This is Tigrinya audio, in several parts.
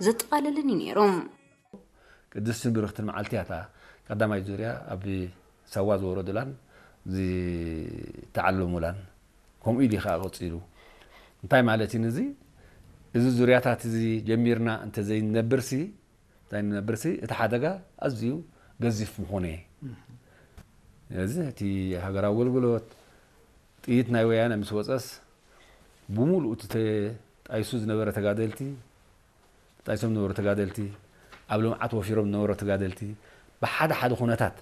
ዘጠቓለለን እዩ ነይሩ። ቅድስትን ብርኽትን መዓልቲ እያ እታ ቀዳማይ ዙርያ ኣብ ሳዋ ዝወረዱላን ዝተዓለሙላን። ከምኡ ኢሉ ከዓ ቀፂሉ። እንታይ ማለት እዩ እዚ? እዚ ዙርያታት እዚ ጀሚርና እንተዘይንነብርሲ እንተዘይንነብርሲ እቲ ሓደጋ ኣዝዩ ገዚፍ ምኾነ። እዚ እቲ ሃገራዊ ኣገልግሎት ጥይት ናይ ወያነ ምስ ወፀስ ብምሉእ እቲ ተጣይሱ ዝነበረ ተጋደልቲ ተጣይሶም ዝነበሩ ተጋደልቲ ኣብ ልምዓት ወፊሮም ዝነበሩ ተጋደልቲ ብሓደ ሓደ ኩነታት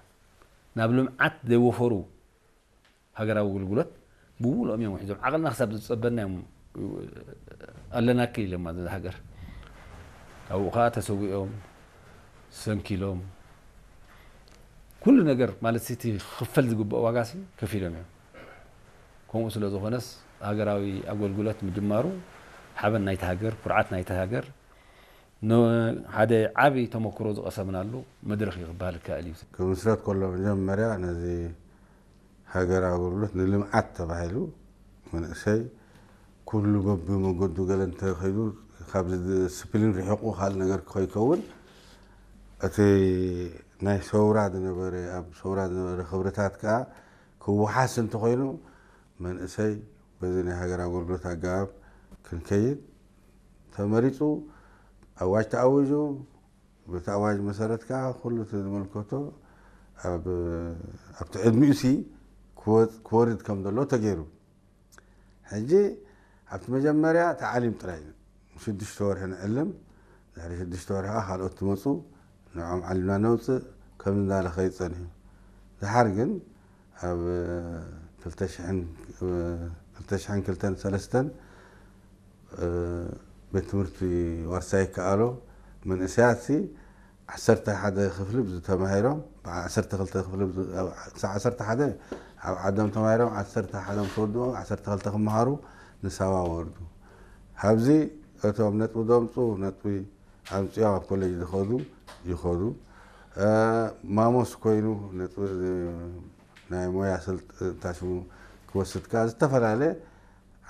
ናብ ልምዓት ዘይወፈሩ ሃገራዊ ኣገልግሎት ብምሉኦም እዮም ውሒዞም። ዓቕልና ክሳብ ዝፀበና እዮም ኣለናኪ ኢሎም ማለት ሃገር ኣብኡ ከዓ ተሰዊኦም ሰንኪሎም ኩሉ ነገር ማለት እቲ ክፈል ዝግብኦ ዋጋ ሲ ከፊሎም እዮም። ከምኡ ስለ ዝኾነስ ሃገራዊ ኣገልግሎት ምጅማሩ ሓበን ናይቲ ሃገር ኩርዓት ናይቲ ሃገር ሓደ ዓብይ ተመክሮ ዝቐሰምናሉ መድረኽ እዩ ክበሃል ይከኣል እዩ። ክምስረት ከሎ መጀመርያ ነዚ ሃገር ኣገልግሎት ንልምዓት ተባሂሉ መንእሰይ ኩሉ በቢ መገዱ ገለ እንተኸይዱ ካብዚ ዲስፕሊን ርሒቑ ካልእ ነገር ከይከውን እቲ ናይ ሰውራ ዝነበረ ኣብ ሰውራ ዝነበረ ክብርታት ከዓ ክወሓስ እንተኾይኑ መንእሰይ በዚ ናይ ሃገር ኣገልግሎት ኣገባብ ክንከይድ ተመሪፁ ኣዋጅ ተኣዊጁ በቲ ኣዋጅ መሰረት ከዓ ኩሉ እቲ ዝምልከቶ ኣብቲ ዕድሚኡ ሲ ክወርድ ከም ዘሎ ተገይሩ። ሕጂ ኣብቲ መጀመርያ ተዓሊም ጥራይ እዩ። ሽዱሽተ ወርሒ ንዕልም፣ ድሕሪ ሽዱሽተ ወርሒ ከዓ ካልኦት ትመፁ፣ ንዕኦም ዓሊምና ነውፅእ፣ ከም እንዳለ ከይድ ፀኒሑ። ድሓር ግን ኣብ ክልተ ሽሕን ክልተን ሰለስተን ቤት ትምህርቲ ዋርሳይ ይከኣሎ መንእሰያት ሲ ዓሰርተ ሓደ ክፍሊ ብዚ ተማሂሮም ዓሰርተ ክልተ ክፍሊ ክሳብ ዓሰርተ ሓደ ኣብ ዓዶም ተማሂሮም ዓሰርተ ሓደ ምስ ወድኡ ዓሰርተ ክልተ ክመሃሩ ንሳዋ ወርዱ። ካብዚ እቶም ነጥቢ ዘምፁ ነጥቢ ኣምፅኦም ኣብ ኮሌጅ ዝኸዱ ይኸዱ። ማሞስ ኮይኑ ነጥቢ ናይ ሞያ ስልጠና ሽሙ ክወስድ ከዓ ዝተፈላለየ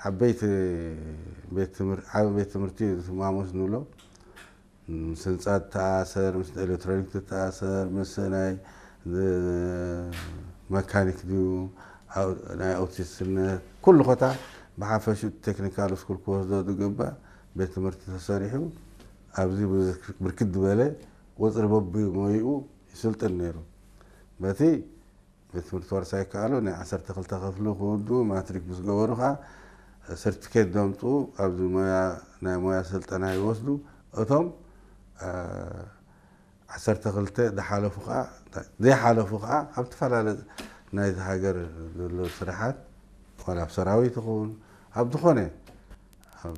ዓበይቲ ቤት ትምህርቲ ዓቢ ቤት ትምህርቲ ማሞስ ንብሎ ምስ ህንፃ ተኣሰር ምስ ኤሌክትሮኒክ ተኣሰር ምስ ናይ መካኒክ ድዩ ናይ ኦቲስትነት ኩሉ ኮታ ብሓፈሹ ቴክኒካል ስኩል ክወስዶ ዝግባእ ቤት ትምህርቲ ተሰሪሑ ኣብዚ ብርክት ዝበለ ቁፅሪ በቢ ሞይኡ ይስልጥን ነይሩ በቲ ቤት ትምህርቲ ዋርሳይ ይከኣሉ ናይ ዓሰርተ ክልተ ክፍሊ ክውድኡ ማትሪክ ምስ ገበሩ ከዓ ሰርቲፊኬት ዘምፅኡ ኣብዚ ሞያ ናይ ሞያ ስልጠና ይወስዱ እቶም ዓሰርተ ክልተ ዝሓለፉ ከዓ ዘይሓለፉ ከዓ ኣብ ዝተፈላለ ናይቲ ሃገር ዘሎ ስራሓት ዋላ ኣብ ሰራዊት ይኸውን ኣብ ዝኾነ ኣብ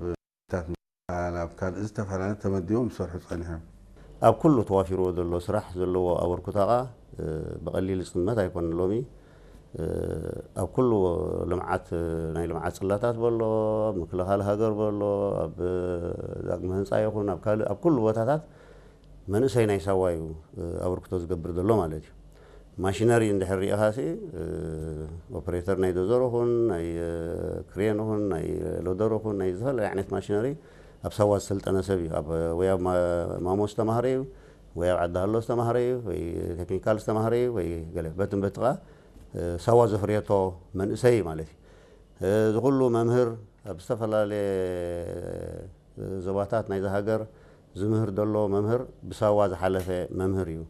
ታት ምክልኻል ኣብ ካልእ ዝተፈላለየ ተመዲቦም ዝሰርሑ ጸኒሖም። ኣብ ኩሉ ተዋፊርዎ ዘሎ ስራሕ ዘለዎ ኣበርክቶ ከኣ ብቐሊል ዝጥመት ኣይኮነን። ሎሚ ኣብ ኩሉ ልምዓት ናይ ልምዓት ጽላታት በሎ፣ ኣብ ምክልኻል ሃገር በሎ፣ ኣብ ዳግመ ህንጻ ይኹን ኣብ ካልእ ኣብ ኩሉ ቦታታት መንእሰይ ናይ ሳዋ እዩ ኣበርክቶ ዝገብር ዘሎ ማለት እዩ። ማሽነሪ እንድሕር ሪኢኻ ሲ ኦፕሬተር ናይ ዶዘር ኹን ናይ ክሬን ኹን ናይ ሎደር ኹን ናይ ዝተፈላለዩ ዓይነት ማሽነሪ ኣብ ሳዋ ዝሰልጠነ ሰብ እዩ። ኣብ ወይ ኣብ ማሞ ዝተማህረ እዩ ወይ ኣብ ዓዲ ሃሎ ዝተማህረ እዩ ወይ ቴክኒካል ዝተማህረ እዩ ወይ ገለ በትን በትኻ ሳዋ ዘፍርየቶ መንእሰይ እዩ ማለት እዩ። እዚ ኩሉ መምህር ኣብ ዝተፈላለየ ዞባታት ናይዛ ሃገር ዝምህር ዘሎ መምህር ብሳዋ ዝሓለፈ መምህር እዩ።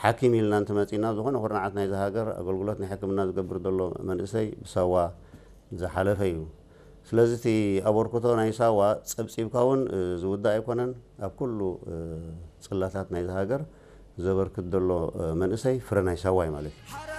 ሓኪም ኢልና እንትመፂና ዝኾነ ኩርናዓት ናይዛ ሃገር ኣገልግሎት ናይ ሕክምና ዝገብር ዘሎ መንእሰይ ብሳዋ ዝሓለፈ እዩ። ስለዚ እቲ ኣበርክቶ ናይ ሳዋ ፀብፂብካ እውን ዝውዳእ ኣይኮነን። ኣብ ኩሉ ፅላታት ናይዛ ሃገር ዘበርክት ዘሎ መንእሰይ ፍረ ናይ ሳዋ እዩ ማለት እዩ።